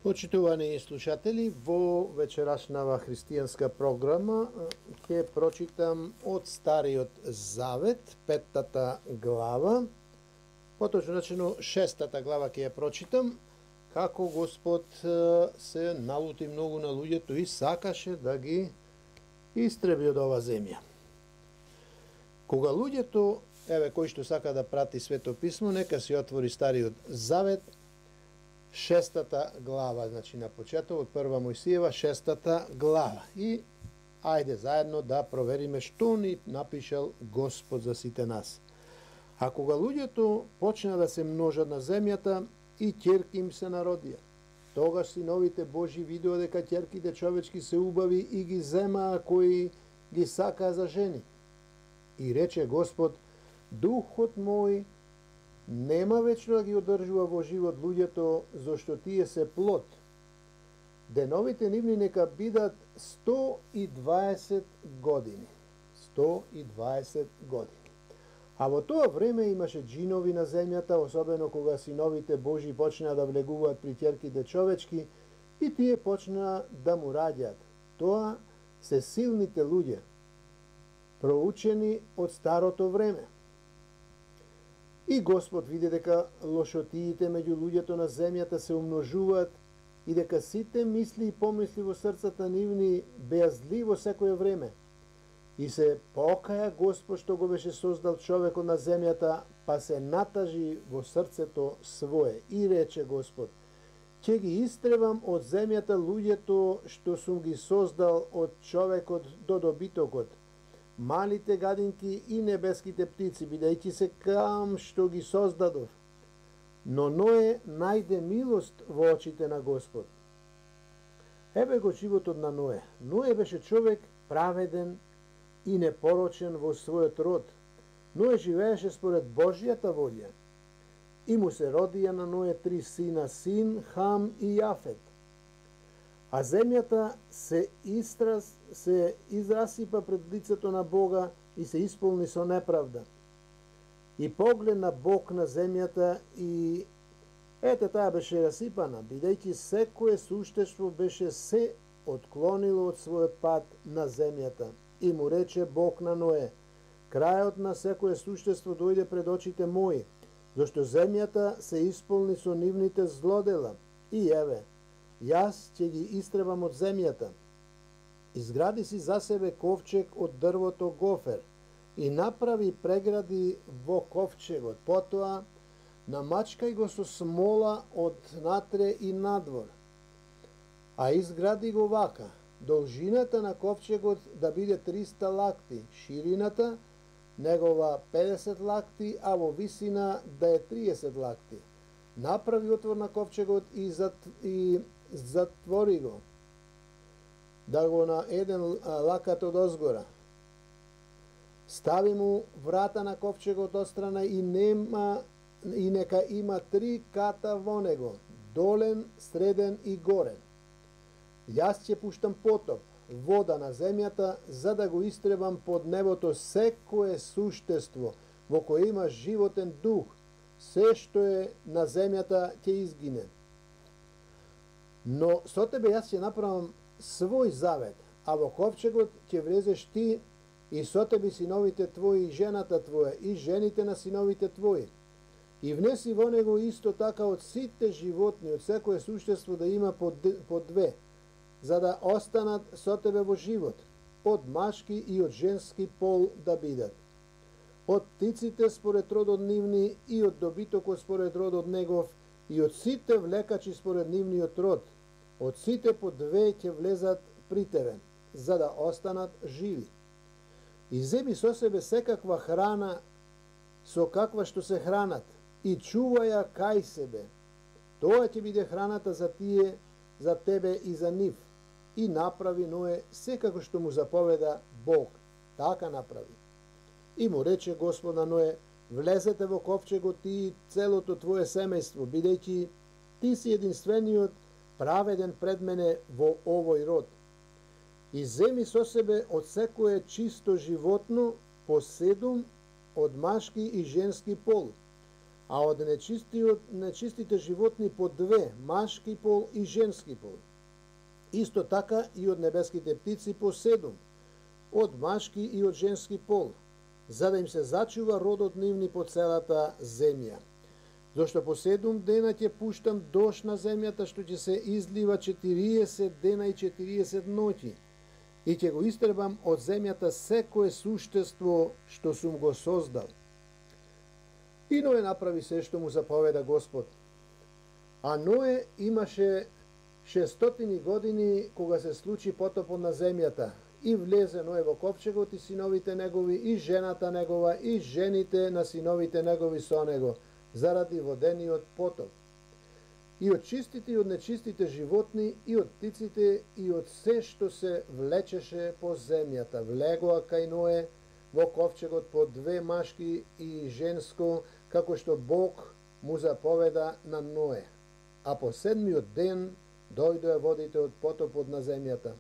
Почитувани слушатели, во вечерашнава христијанска програма ќе прочитам од Стариот Завет, 5-та глава, поточно речено 6-та глава ќе ја прочитам, како Господ се налути многу на луѓето и сакаше да ги истреби од ова земја. Кога луѓето, кој што сака да прати Свето писмо, нека си отвори Стариот Завет, 6-та глава, значи на почеток од 1 Мојсиева, 6-та глава. И ајде заедно да провериме што ни напишал Господ за сите нас. А кога луѓето почна да се множат на земјата и ќерки им се народија, тогаш синовите Божи видеа дека ќерките човечки се убави и ги земаа кои ги сакаа за жени. И рече Господ: Духот мој нема вечно да ги одржува во живот луѓето, зашто тие се плод. Деновите нивни нека бидат 120 години. 120 години. А во тоа време имаше джинови на земјата, особено кога синовите Божи почнаа да влегуваат при ќерките човечки и тие почнаа да му раѓаат. Тоа се силните луѓе, проучени од старото време. И Господ види дека лошотиите меѓу луѓето на земјата се умножуваат и дека сите мисли и помисли во срцата нивни беа зли во секое време. И се покаја Господ што го беше создал човекот на земјата, па се натажи во срцето свое. И рече Господ: ќе ги истребам од земјата луѓето што сум ги создал, од човекот до добитокот, малите гадинки и небеските птици, бидејќи се кам што ги создадов. Но Ное најде милост во очите на Господ. Еве го животот на Ное. Ное беше човек праведен и непорочен во својот род. Ное живееше според Божјата волја. И му се родија на Ное 3 сина, Син, Хам и Јафет. А земјата се израсипа пред лицето на Бога и се исполни со неправда. И погледна Бог на земјата и ете таа беше расипана, бидејќи секое суштество беше се отклонило од својот пат на земјата. И му рече Бог на Ное: крајот на секое суштество дојде пред очите мои, зашто земјата се исполни со нивните злодела. И еве, јас ќе ги истребам од земјата. Изгради си за себе ковчег од дрвото гофер и направи прегради во ковчегот. Потоа намачкај го со смола од натре и надвор. А изгради го вака: должината на ковчегот да биде 300 лакти, ширината негова 50 лакти, а во висина да е 30 лакти. Направи отвор на ковчегот и затвори го, да го на еден лакат од озгора. Стави му врата на ковчегот отстрана и нека има 3 ката во него, долен, среден и горен. Јас ќе пуштам потоп, вода на земјата, за да го истребам под небото секое суштество во кое има животен дух. Се што е на земјата ќе изгине. Но со тебе јас ќе направам свој завет, а во ковчегот ќе влезеш ти и со тебе синовите твои и жената твоја и жените на синовите твои. И внеси во него исто така од сите животни, од секое суштество да има по 2, за да останат со тебе во живот, од машки и од женски пол да бидат. Од птиците според родот нивни и од добитокот според родот негов и од сите влекачи според нивниот род. Од сите по 2 ќе влезат при тебе, за да останат живи. И земи со себе секаква храна со каква што се хранат и чуваја кај себе. Тоа ќе биде храната за тие, за тебе и за нив. И направи Ное секако што му заповеда Бог. Така направи. И му рече Господ на Ное: влезете во ковчегот ти и целото твое семејство, бидејќи ти си единствениот праведен пред мене во овој род. И земи со себе од секое чисто животно по 7 од машки и женски пол, а од нечистите животни по 2, машки пол и женски пол. Исто така и од небеските птици по 7, од машки и од женски пол, за да им се зачува родот нивни по целата земја. Зошто по 7 дена ќе пуштам дожд на земјата, што ќе се излива 40 дена и 40 ноќи, и ќе го истребам од земјата секое суштество што сум го создал. И Ное направи се што му заповеда Господ. А Ное имаше 600 години кога се случи потопот на земјата, и влезе Ное во ковчегот и синовите негови, и жената негова, и жените на синовите негови со него, заради водениот потоп. И од чистите и од нечистите животни, и од птиците, и од се што се влечеше по земјата, влегоа кај Ное во ковчегот по 2 машки и женско, како што Бог му заповеда на Ное. А по 7-миот ден дојдоа водите од потопот на земјата.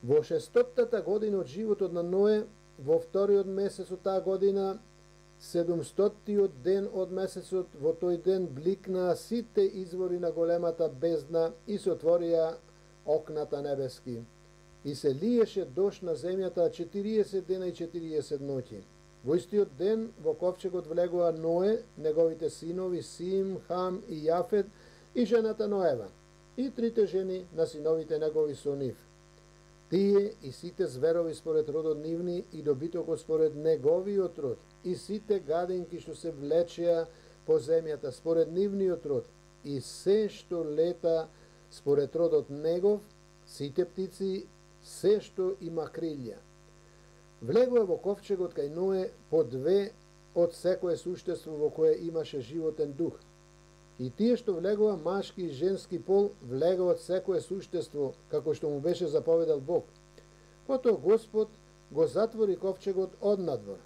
Во 600-та година од животот на Ное, во 2-иот месец од таа година, 700-тиот ден од месецот, во тој ден бликнаа сите извори на големата бездна и се отворија окната небески. И се лиеше дожд на земјата 40 дена и 40 ноќи. Во истиот ден во ковчегот влегоа Ное, неговите синови Сим, Хам и Јафет, и жената Ноева, и 3 жени на синовите негови со нив. Тие и сите зверови според родот нивни и добитокот според неговиот род, и сите гадинки што се влечеа по земјата според нивниот род, и се што лета според родот негов, сите птици, се што има крилја. Влегоа во ковчегот кај Ное по 2 од секое суштество во кое имаше животен дух. И тие што влегоа машки и женски пол, влегоа од секое суштество, како што му беше заповедал Бог. Потоа Господ го затвори ковчегот однадвор.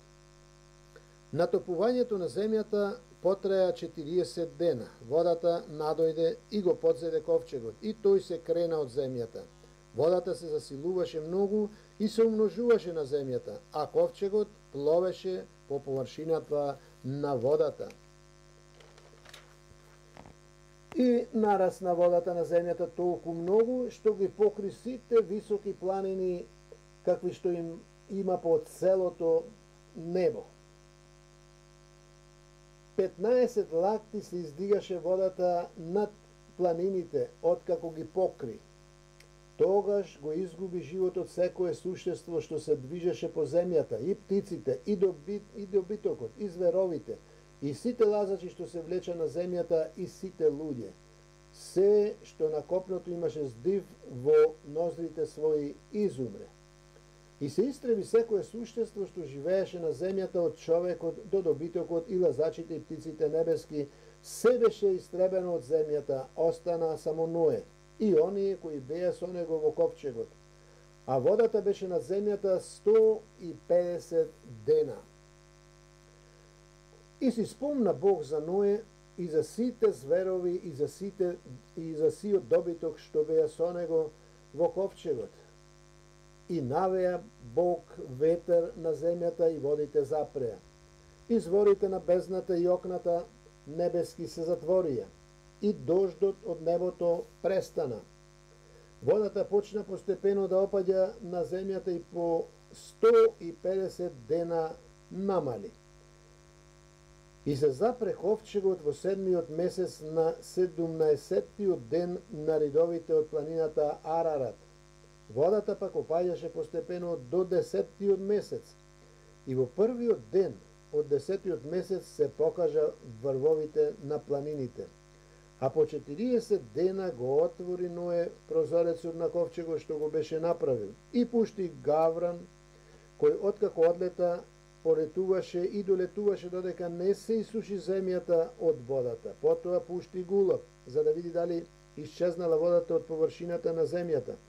Натопувањето на земјата потраја 40 дена. Водата надојде и го подзеде ковчегот, и тој се крена од земјата. Водата се засилуваше многу и се умножуваше на земјата, а ковчегот пловеше по површината на водата. И нарасна водата на земјата толку многу, што ги покри сите високи планини, какви што им има по целото небо. 15 лакти се издигаше водата над планините, откако ги покри. Тогаш го изгуби животот секое суштество што се движеше по земјата, и птиците, и добитокот, и зверовите, и сите лазачи што се влеча на земјата, и сите луѓе. Се што на копното имаше здив во ноздрите своји изумре. И се истреби секое суштество што живееше на земјата, од човекот до добитокот и лазачите и птиците небески, се беше истребено од земјата, остана само Ное и оние кои беа со него во ковчегот. А водата беше на земјата 150 дена. И си спомна Бог за Ное и за сите зверови и за сиот добиток што беа со него во ковчегот. И навеа Бог ветер на земјата и водите запреа. Изворите на бездната и окната небески се затворија и дождот од небото престана. Водата почна постепено да опаѓа на земјата и по 150 дена намали. И се запре ковчегот во 7-миот месец на 17-тиот ден на ридовите од планината Арарат. Водата пак опаѓаше постепено до 10-тиот месец. И во првиот ден од 10-тиот месец се покажа врвовите на планините. А по 40 дена го отвори Ное прозорецот на ковчегот што го беше направил и пушти гавран, кој откако одлета полетуваше и долетуваше додека не се исуши земјата од водата. Потоа пушти гулав, за да види дали исчезнала водата од површината на земјата.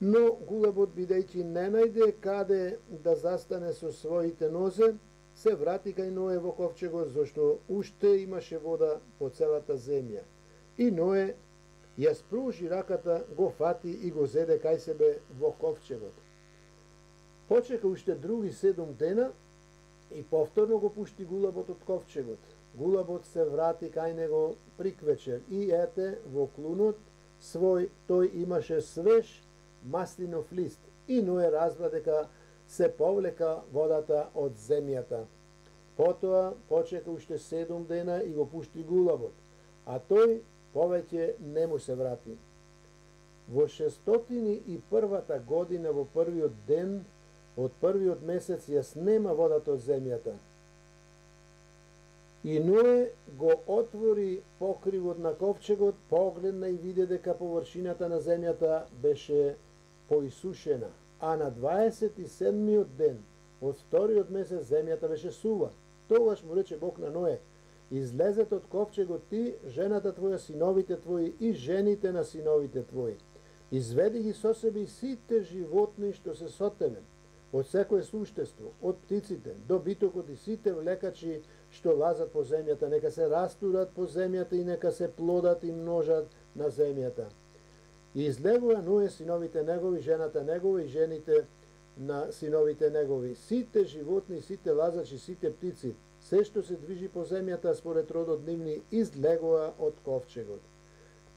Но гулабот, бидејќи не најде каде да застане со своите нозе, се врати кај Ное во ковчегот, зашто уште имаше вода по целата земја. И Ное ја спружи раката, го фати и го зеде кај себе во ковчегот. Почека уште други 7 дена и повторно го пушти гулабот од ковчегот. гулабот се врати кај него приквечер и ете во клунот свој тој имаше свеж маслинов лист и Ное разбра дека се повлека водата од земјата. Потоа почека уште 7 дена и го пушти гулабот, а тој повеќе не му се врати. Во 601 година во првиот ден од првиот месец ја снема водата од земјата. И Ное го отвори покривот на ковчегот, погледна и виде дека површината на земјата беше поисушена, а на 27-миот ден од вториот месец земјата беше сува. Тогаш му рече Бог на Ное: излезете од ковчегот ти, жената твоја, синовите твои и жените на синовите твои. Изведи ги со себе и сите животни што се со тебе, од секое суштество, од птиците до битокот и сите влекачи што лазат по земјата, нека се растурат по земјата и нека се плодат и множат на земјата. И излегува Ное, синовите негови, жената негова и жените на синовите негови, сите животни, сите лазачи, сите птици, се што се движи по земјата според родот нивни, излегува од ковчегот.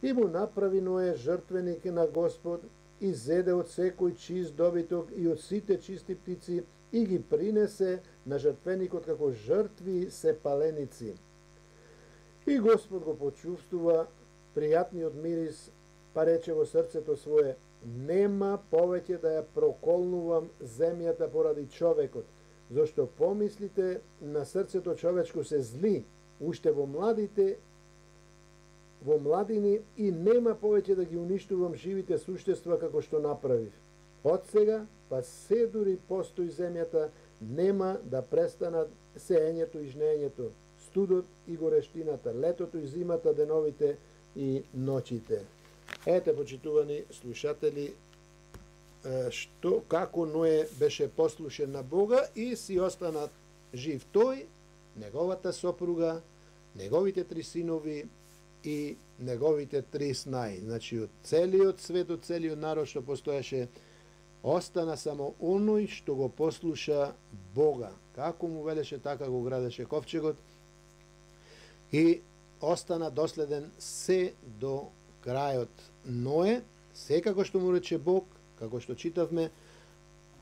И му направи Ное жртвеник на Господ и зеде од секој чист добиток и од сите чисти птици и ги принесе на жртвеникот како жртви се паленици. И Господ го почувствува пријатниот мирис, па рече во срцето свое: нема повеќе да ја проколнувам земјата поради човекот, зашто помислите на срцето човечко се зли, уште во младини и нема повеќе да ги уништувам живите суштества како што направив. Од сега, па се дури постои земјата, нема да престанат сеењето и жнеењето, студот и горештината, летото и зимата, деновите и ноќите. Ете, почитувани слушатели, како Ное беше послушен на Бога и си останат жив тој, неговата сопруга, неговите 3 синови и неговите 3 снаи. Значи, од целиот свет, од целиот народ што постоеше, остана само оној што го послуша Бога. Како му велеше, така го градеше ковчегот и остана доследен се до крајот. Ное, секако што му рече Бог, како што читавме,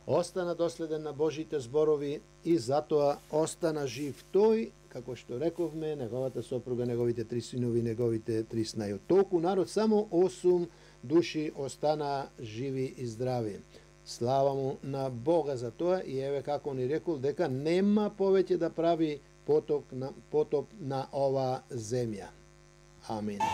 остана доследен на Божите зборови и затоа остана жив тој, како што рековме, неговата сопруга, неговите 3 синови, неговите 3 снаи. Од толку народ само 8 души остана живи и здрави. Слава му на Бога за тоа и еве како ни рекол дека нема повеќе да прави потоп на ова земја. Амин.